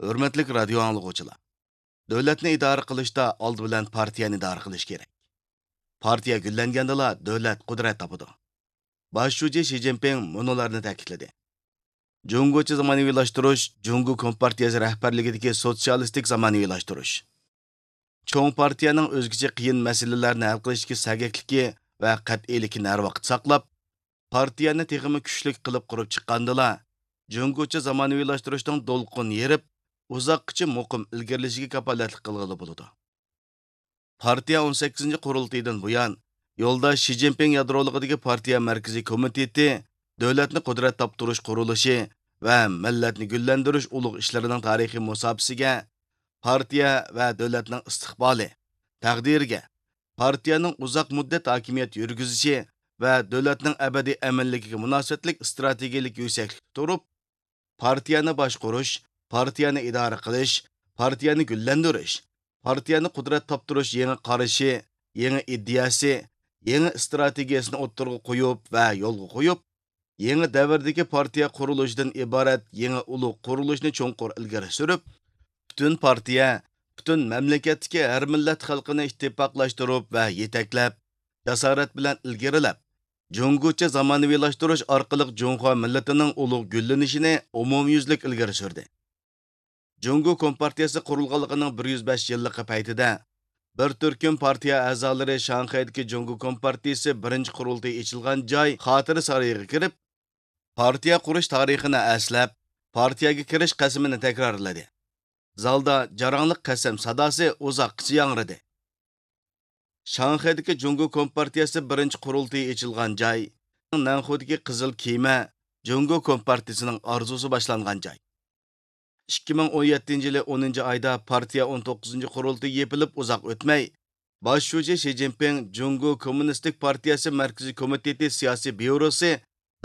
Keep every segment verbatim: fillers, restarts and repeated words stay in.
ھۆرمەتلىك رادىيو ئاڭلىغۇچىلار! دۆلەتنى ئىدارە قىلىشتا ئالدى بىلەن پارتىيەنى ئىدارە قىلىش كېرەك. پارتىيە گۈللەنگەندىلا دۆلەت قۇدرەت تاپىدۇ. باش شۇجى شى جىنپىڭ مۇنۇلارنى تەكىتلىدى: جۇڭگوچە زامانىۋىلاشتۇرۇش، جۇڭگو كومپارتىيەسى رەھبەرلىكىدىكى سوتسىيالىستىك زامانىۋىلاشتۇرۇش. چوڭ پارتىيەنىڭ ئۆزگىچە قىيىن مەسىلىلەرنى ھەل قىلىشتىكى سەگەكلىكى ۋە قەتئىيلىكىنى ھەر ۋاقىت ساقلاپ، پارتىيەنى تېخىمۇ كۈچلۈك قىلىپ قۇرۇپ چىققاندىلا، جۇڭگوچە زامانىۋىلاشتۇرۇشنىڭ دولقۇنى يېرىپ، ئۇزاققىچە مۇقىم ئىلگىرىلىشىگە كاپالەتلىك قىلغىلى بولىدۇ. پارتىيە ئون سەككىزىنچى قۇرۇلتىيىدىن بۇيان، يولداش شى جىنپىڭ يادرولۇقىدىكى پارتىيە مەركىزىي كومىتېتى دۆلەتنى قۇدرەت تاپتۇرۇش قۇرۇلۇشى ۋە مىللەتنى گۈللەندۈرۈش ئۇلۇغ ئىشلىرىنىڭ تارىخىي مۇساپىسىگە، پارتىيە ۋە دۆلەتنىڭ ئىستىقبالى، تەقدىرىگە، پارتىيەنىڭ ئۇزاق مۇددەت ھاكىمىيەت يۈرگۈزۈشى ۋە دۆلەتنىڭ ئەبەدىي ئەمىنلىكىگە مۇناسىۋەتلىك ئىستراتېگىيەلىك يۈكسەكلىكتە تۇرۇپ، پارتىيەنى باشقۇرۇش، پارتىيەنى ئىدارە قىلىش، پارتىيەنى گۈللەندۈرۈش، پارتىيەنى قۇدرەت تاپتۇرۇش يېڭى قارىشى، يېڭى ئىدىيەسى، يېڭى ئىستراتېگىيەسىنى ئوتتۇرىغا قويۇپ ۋە يولغا قويۇپ، يېڭى دەۋردىكى پارتىيە قۇرۇلۇشىدىن ئىبارەت يېڭى ئۇلۇغ قۇرۇلۇشنى چوڭقۇر ئىلگىرى سۈرۈپ، پۈتۈن پارتىيە، پۈتۈن مەملىكەتتىكى ھەر مىللەت خەلقىنى ئىتتىپاقلاشتۇرۇپ ۋە يېتەكلەپ، جاسارەت بىلەن ئىلگىرىلەپ، جۇڭگوچە زامانىۋىلاشتۇرۇش ئارقىلىق جۇڭخۇا مىللىتىنىڭ ئۇلۇغ گۈللىنىشىنى ئومۇميۈزلۈك ئىلگىرى سۈردى. جۇڭگو كومپارتىيەسى قۇرۇلغانلىقىنىڭ بىر يۈز بەش يىللىقى پەيتىدە، بىر تۈركۈم پارتىيە ئەزالىرى شاڭخەيدىكى جۇڭگو كومپارتىيىسى بىرىنچى قۇرۇلتىيى ئېچىلغان جاي خاتىرە سارىيىغا كىرىپ، پارتىيە قۇرۇش تارىخىنى ئەسلەپ، پارتىيەگە كىرىش قەسىمىنى تەكرارلىدى. زالدا جاراڭلىق قەسەم ساداسى ئۇزاققىچە ياڭرىدى. شاڭخەيدىكى جۇڭگو كومپارتىيەسى بىرىنچى قۇرۇلتىيى ئېچىلغان جاي، نەنخۇدىكى قىزىل كېمە، جۇڭگو كومپارتىيىسىنىڭ ئارزۇسى باشلانغان جاي. ئىككى مىڭ ئون يەتتىنچى يىلى ئونىنچى ئايدا پارتىيە ئون توققۇزىنچى قۇرۇلتىيى يېپىلىپ ئۇزاق ئۆتمەي، باش شۇجى شى جىنپىڭ جۇڭگو كوممۇنىستىك پارتىيەسى مەركىزىي كومىتېتى سىياسىي بيۇروسى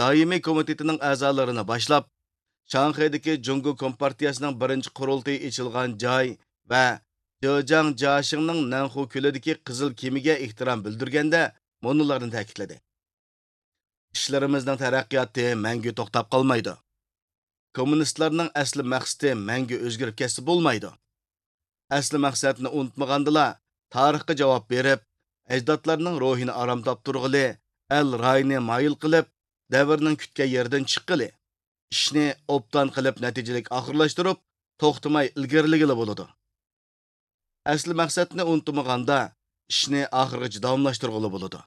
دائىمىي كومىتېتىنىڭ ئەزالىرىنى باشلاپ، شاڭخەيدىكى جۇڭگو كومپارتىيەسىنىڭ بىرىنچى قۇرۇلتىيى ئېچىلغان جاي ۋە جېجياڭ جياشىڭنىڭ نەنخۇ كۆلىدىكى قىزىل كېمىگە ئېھتىرام بىلدۈرگەندە مۇنۇلارنى تەكىتلىدى: ئىشلىرىمىزنىڭ تەرەققىياتى مەڭگۈ توختاپ قالمايدۇ. كوممۇنىستلارنىڭ ئەسلى مەقسىتى مەڭگۈ ئۆزگىرىپ كەتسە بولمايدۇ. ئەسلى مەقسەتنى ئۇنتۇمىغاندىلا، تارىخقا جاۋاب بېرىپ، ئەجدادلارنىڭ روھىنى ئارام تاپتۇرغىلى، ئەل رايىنى مايىل قىلىپ، دەۋرنىڭ كۈتكەن يېرىدىن چىققىلى، ئىشنى ئوبدان قىلىپ نەتىجىلىك ئاخىرلاشتۇرۇپ، توختىماي ئىلگىرىلىگىلى بولىدۇ. ئەسلى مەقسەتنى ئۇنتۇمىغاندا، ئىشنى ئاخىرغىچە داۋاملاشتۇرغىلى بولىدۇ.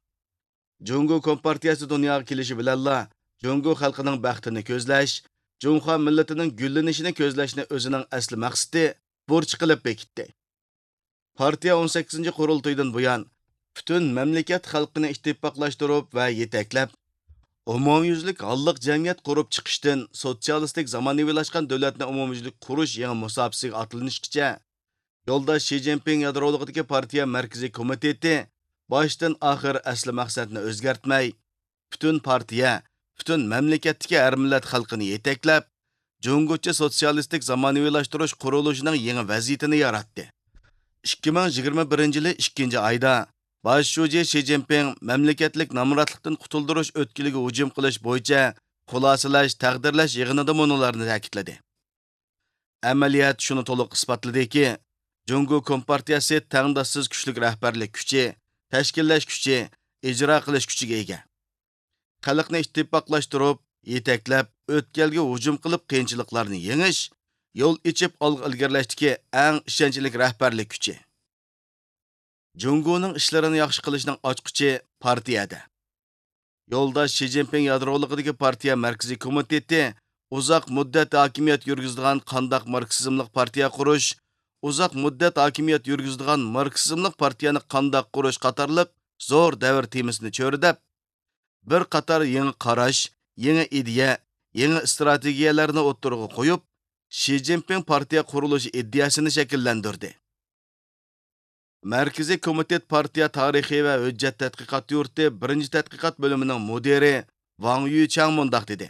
جۇڭگو كومپارتىيەسى دۇنياغا كېلىشى بىلەنلا، جۇڭگو خەلقىنىڭ بەختىنى كۆزلەش، جۇڭخۇا مىللىتىنىڭ گۈللىنىشىنى كۆزلەشنى ئۆزىنىڭ ئەسلى مەقسىتى، بۇرچى قىلىپ بېكىتتى. پارتىيە ئون سەككىزىنچى قۇرۇلتىيىدىن بۇيان، پۈتۈن مەملىكەت خەلقىنى ئىتتىپاقلاشتۇرۇپ ۋە يېتەكلەپ، ئومۇميۈزلۈك ھاللىق جەمئىيەت قۇرۇپ چىقىشتىن سوتسىيالىستىك زامانىۋىلاشقان دۆلەتنى ئومۇميۈزلۈك قۇرۇش يېڭى مۇساپىسىگە ئاتلىنىشقىچە، يولداش شى جىنپىڭ يادرولۇقىدىكى پارتىيە مەركىزىي كومىتېتى باشتىن ئاخىر ئەسلى مەقسەتنى ئۆزگەرتمەي، پۈتۈن پارتىيە، پۈتۈن مەملىكەتتىكى ھەر مىللەت خەلقىنى يېتەكلەپ، جۇڭگوچە سوتسىيالىستىك زامانىۋىلاشتۇرۇش قۇرۇلۇشىنىڭ يېڭى ۋەزىيىتىنى ياراتتى. ئىككى مىڭ يىگىرمە بىرىنچى يىلى ئىككىنچى ئايدا باش شۇجى شى جىنپىڭ مەملىكەتلىك نامراتلىقتىن قۇتۇلدۇرۇش ئۆتكىلىگە ھۇجۇم قىلىش بويىچە خۇلاسىلەش، تەقدىرلەش يىغىنىدا مۇنۇلارنى تەكىتلىدى: ئەمەلىيەت شۇنى تولۇق ئىسپاتلىدىكى، جۇڭگو كومپارتىيەسى تەڭداشسىز كۈچلۈك رەھبەرلىك كۈچى، تەشكىللەش كۈچى، ئىجرا قىلىش كۈچىگە ئىگە. خەلقنى ئىتتىپاقلاشتۇرۇپ، يېتەكلەپ، ئۆتكەلگە ھۇجۇم قىلىپ قىيىنچىلىقلارنى يېڭىش، يول ئېچىپ ئالغا ئىلگىرىلەشتىكى ئەڭ ئىشەنچلىك رەھبەرلىك كۈچى. جۇڭگونىڭ ئىشلىرىنى ياخشى قىلىشنىڭ ئاچقۇچى پارتىيەدە. يولداش شى جىنپىڭ يادرولۇقىدىكى پارتىيە مەركىزىي كومىتېتى ئۇزاق مۇددەت ھاكىمىيەت يۈرگۈزىدىغان قانداق ماركسىزملىق پارتىيە قۇرۇش، ئۇزاق مۇددەت ھاكىمىيەت يۈرگۈزىدىغان ماركسىزملىق پارتىيەنى قانداق قۇرۇش قاتارلىق زور دەۋر تېمىسىنى چۆرىدەپ، بىر قاتار يېڭى قاراش، يېڭى ئىدىيە، يېڭى ئىستراتېگىيەلەرنى ئوتتۇرىغا قويۇپ، شى جىنپىڭ پارتىيە قۇرۇلۇشى ئىدىيەسىنى شەكىللەندۈردى. مەركىزىي كومىتېت پارتىيە تارىخى ۋە ھۆججەت تەتقىقات يۇرتى بىرىنچى تەتقىقات بۆلۈمىنىڭ مۇدىرى ۋاڭ يۈچياڭ مۇنداق دېدى: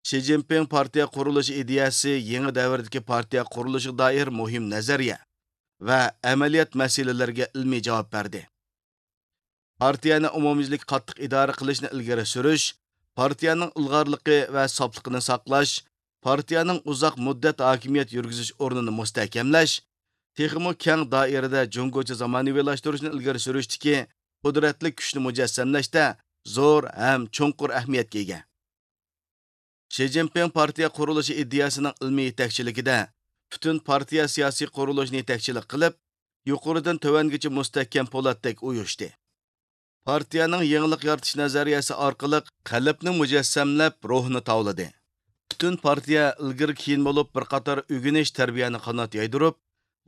شى جىنپىڭ پارتىيە قۇرۇلۇشى ئىدىيەسى يېڭى دەۋردىكى پارتىيە قۇرۇلۇشىغا دائىر مۇھىم نەزەرىيە ۋە ئەمەلىيەت مەسىلىلىرىگە ئىلمىي جاۋاب بەردى. پارتىيەنى ئومۇميۈزلۈك قاتتىق ئىدارە قىلىشنى ئىلگىرى سۈرۈش، پارتىيەنىڭ ئىلغارلىقى ۋە ساپلىقىنى ساقلاش، پارتىيەنىڭ ئۇزاق مۇددەت ھاكىمىيەت يۈرگۈزۈش ئورنىنى مۇستەھكەملەش، تېخىمۇ كەڭ دائىرىدە جۇڭگوچە زامانىۋىلاشتۇرۇشنى ئىلگىرى سۈرۈشتىكى قۇدرەتلىك كۈچنى مۇجەسسەملەشتە زور ھەم چوڭقۇر ئەھمىيەتكە ئىگە. شى جىنپىڭ پارتىيە قۇرۇلۇشى ئىدىيەسىنىڭ ئىلمىي يېتەكچىلىكىدە پۈتۈن پارتىيە سىياسىي قۇرۇلۇشىنى يېتەكچىلىك قىلىپ، يۇقىرىدىن تۆۋەنگىچە مۇستەھكەم پولاتتەك ئۇيۇشتى. پارتىيەنىڭ يېڭىلىق يارىتىش نەزەرىيەسى ئارقىلىق قەلبنى مۇجەسسەملەپ، روھنى تاۋلىدى. پۈتۈن پارتىيە ئىلگىرى كېيىن بولۇپ بىر قاتار ئۆگىنىش تەربىيەنى قانات يايدۇرۇپ،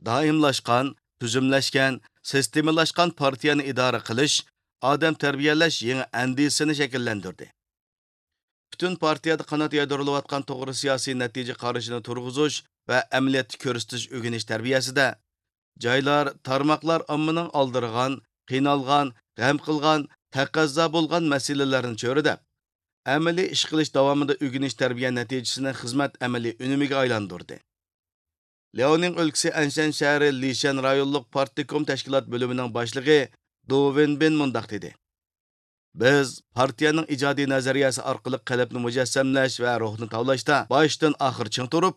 دائىملاشقان، تۈزۈملەشكەن، سىستېمىلاشقان پارتىيەنى ئىدارە قىلىش، ئادەم تەربىيەلەش يېڭى ئەندىزىسىنى شەكىللەندۈردى. پۈتۈن پارتىيەدە قانات يايدۇرۇلۇۋاتقان توغرا سىياسىي نەتىجە قارىشىنى تۇرغۇزۇش ۋە ئەمەلىيەتتە كۆرسىتىش ئۆگىنىش تەربىيەسىدە، جايلار، تارماقلار ئاممىنىڭ ئالدىرىغان، قىينالغان، غەم قىلغان، تەقەززا بولغان مەسىلىلەرنى چۆرىدەپ، ئەمەلىي ئىش قىلىش داۋامىدا ئۆگىنىش تەربىيە نەتىجىسىنى خىزمەت ئەمەلىي ئۈنۈمىگە ئايلاندۇردى. لياۋنىڭ ئۆلكىسى ئەنشەن شەھىرى لىشەن رايونلۇق پارتكوم تەشكىلات بۆلۈمىنىڭ باشلىقى دۇ ۋېنبىن مۇنداق دېدى: بىز پارتىيەنىڭ ئىجادىي نەزەرىيەسى ئارقىلىق قەلبنى مۇجەسسەملەش ۋە روھنى تاۋلاشتا باشتىن ئاخىر چىڭ تۇرۇپ،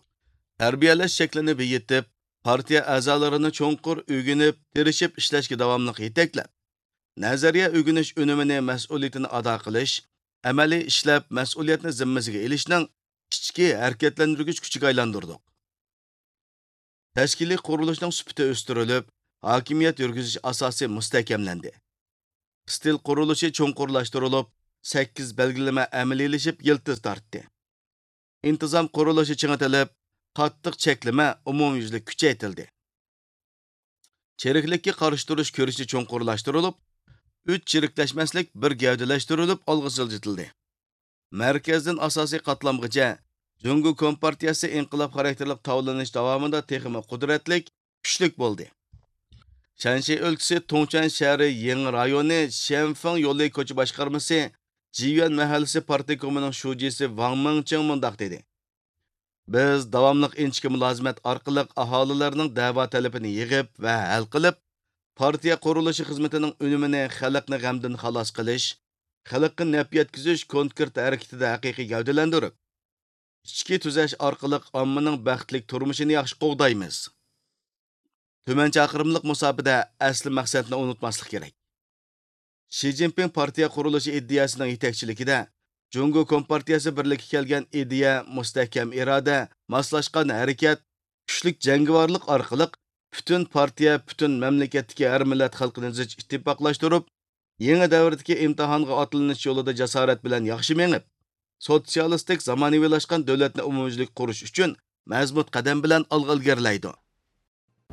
تەربىيەلەش شەكلىنى بېيىتىپ، پارتىيە ئەزالىرىنى چوڭقۇر ئۆگىنىپ، تىرىشىپ ئىشلەشكە داۋاملىق يېتەكلەپ، نەزەرىيە ئۆگىنىش ئۈنۈمىنى مەسئۇلىيىتىنى ئادا قىلىش، ئەمەلىي ئىشلەپ مەسئۇلىيەتنى زىممىسىگە ئېلىشنىڭ ئىچكى ھەرىكەتلەندۈرگۈچ كۈچىگە ئايلاندۇردۇق. تەشكىلىي قۇرۇلۇشنىڭ سۈپىتى ئۆستۈرۈلۈپ، ھاكىمىيەت يۈرگۈزۈش ئاساسى مۇستەھكەملەندى. ئىستىل قۇرۇلۇشى چوڭقۇرلاشتۇرۇلۇپ، سەككىز بەلگىلىمە ئەمەلىيلىشىپ يىلتىز تارتتى. ئىنتىزام قۇرۇلۇشى چىڭىتىلىپ، قاتتىق چەكلىمە ئومۇميۈزلۈك كۈچەيتىلدى. چىرىكلىككە قارشى تۇرۇش كۈرىشى چوڭقۇرلاشتۇرۇلۇپ، ئۈچ چىرىكلەشمەسلىك بىر گەۋدىلەشتۈرۈلۈپ ئالغا سىلجىتىلدى. مەركەزدىن ئاساسىي قاتلامغىچە جۇڭگو كومپارتىيەسى ئىنقىلاب خاراكتېرلىك تاۋلىنىش داۋامىدا تېخىمۇ قۇدرەتلىك، كۈچلۈك بولدى. شەنشى ئۆلكىسى تۇڭچۈەن شەھىرى يېڭى رايونى شيەنفېڭ يولى كوچا باشقارمىسى جىيۈەن مەھەللىسى پارتكومىنىڭ شۇجىسى ۋاڭ مىڭچىڭ مۇنداق دېدى: بىز داۋاملىق ئىنچىكە مۇلازىمەت ئارقىلىق ئاھالىلەرنىڭ دەۋا تەلىپىنى يىغىپ ۋە ھەل قىلىپ، پارتىيە قۇرۇلۇشى خىزمىتىنىڭ ئۈنۈمىنى خەلقنى غەمدىن خالاس قىلىش، خەلققە نەپ يەتكۈزۈش كونكرېت ھەرىكىتىدە ھەقىقىي گەۋدىلەندۈرۈپ، ئىچكى تۈزەش ئارقىلىق ئاممىنىڭ بەختلىك تۇرمۇشىنى ياخشى قوغدايمىز. تۈمەن چاقىرىملىق مۇساپىدە ئەسلى مەقسەتنى ئۇنتۇماسلىق كېرەك. شى جىنپىڭ پارتىيە قۇرۇلۇشى ئىدىيەسىنىڭ يېتەكچىلىكىدە جۇڭگو كومپارتىيەسى بىرلىككە كەلگەن ئىدىيە، مۇستەھكەم ئىرادە، ماسلاشقان ھەرىكەت، كۈچلۈك جەڭگىۋارلىق ئارقىلىق پۈتۈن پارتىيە، پۈتۈن مەملىكەتتىكى ھەر مىللەت خەلقىنى زىچ ئىتتىپاقلاشتۇرۇپ، يېڭى دەۋردىكى ئىمتىھانغا ئاتلىنىش يولىدا جاسارەت بىلەن ياخشى مېڭىپ، سوتسىيالىستىك زامانىۋىلاشقان دۆلەتنى ئومۇميۈزلۈك قۇرۇش ئۈچۈن مەزمۇت قەدەم بىلەن ئالغا ئىلگىرىلەيدۇ.